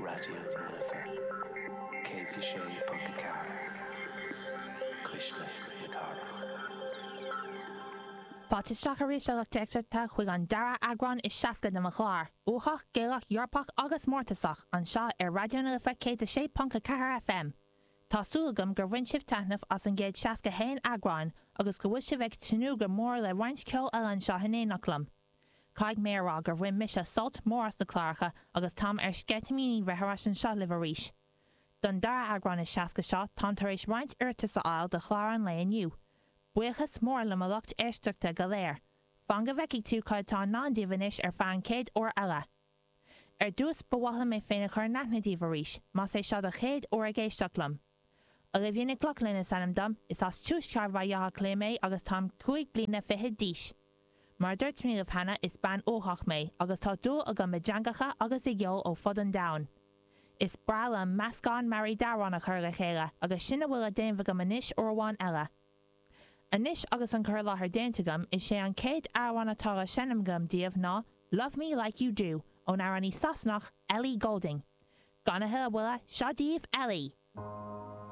Raidió na Life 106.4, Cuisle na Cathrach. Fáilte isteach arís a lucht éisteachta chuig an dara eagrán is 60 de mo chlár, Uathach, Gaelach, Eorpach agus Mórtasach, anseo ar Raidió na Life 106.4 FM. Tá súil agam gur bhain sibh taitneamh as an gcéad 61 eagrán agus go bhfuil sibh ag tnúth go mór le roinnt ceoil eile anseo in éineacht liom. Caithfidh mé a rá gur bhain mise sult mór as na cláracha agus táim ar sceitimíní bheith ar ais anseo libh arís. Don dara eagrán is 60 seo táim tar éis roinnt iarratas a fháil do chlár an lae inniu. Buíochas mór le mo lucht éisteachta go léir. Fan go bhfeicfidh tú cad atá i ndán daoibh anois ar feadh an chéad uair eile. Ar dtús, ba mhaith liom mé féin a chur in aithne daoibh arís, más é seo do chéad uair ag éisteacht liom. Olivia Nic Lochlainn is ainm dom, is as tuaisceart Bhaile Átha Cliath mé agus táim cúig bliana fichead d'aois. Mar a dúirt mé libh cheana, is bean uathach mé, agus tá dúil agam i dteangacha agus i gceol ó fud an domhain. Is breá liom meascán mearaí d'amhráin a chur le chéile, agus sin a bhfuil le déanamh agam anois uair amháin eile. Anois agus an cur i láthair déanta agam, is é an chéad amhrán atá le seinm agam daoibh ná Love Me Like You Do ón amhránaí Sasanach Ellie Goulding. Gan a thuilleadh moille, seo daoibh Ellie!